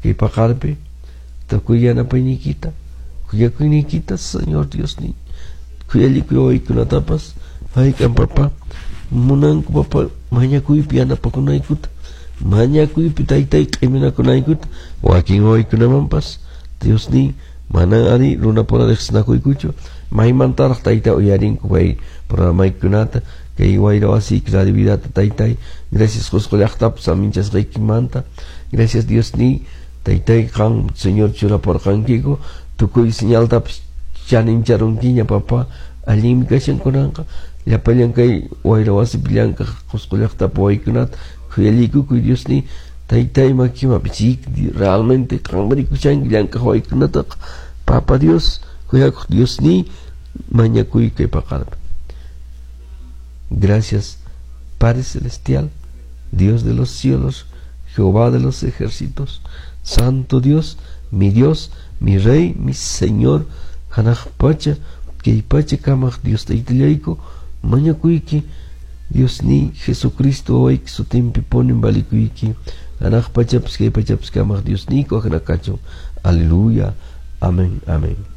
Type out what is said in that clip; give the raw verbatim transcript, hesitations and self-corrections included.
Kay paqarpi tukuy yanapayniykita, kuyakuyniykita, Señor Diosniy, khuyallikuy wawaykunatapas, hayk'an papá munanku papá mañakuypi yanapakunaykuta, mañakuypi taytay q'iminakunaykuta, wakin wawaykunamanpas Diosniy manan ari runapura riqsinakuykuchu, maymantaraq tayta uyarinku kay programaykunata, kay wayra wasiyki Radio Vidata taytay, gracias Qusqu llaqtapas saminchasqaykimanta, gracias Diosniy, taytay qan Señor churaporqankiku, tukuy señaltapas chanincharunkiña papá, allinmi kashan kunanqa, llapallan kay wayra wasipi llank'aq Qusqu llaqtapi wawaykunata khuyallikukuy Diosniy, taytay makimapi realmente qanmi rikushanki llank'aq wawaykunataqa, Papa Dios, kuyakuq Diosniy, mañakuy kay paqarpi. Gracias, Padre Celestial, Dios de los cielos, Jehová de los ejércitos, Santo Dios, mi Dios, mi Rey, mi Señor, hanaq pacha, kay pacha kamaq Dios taytallayku, mañakuyki, Diosniy, Jesucristo wawayki sutinpi punin valikuyki, hanaq pachapas kay pachapas kamaq Diosniyku ajina kachun. Aleluya. Amén, amén.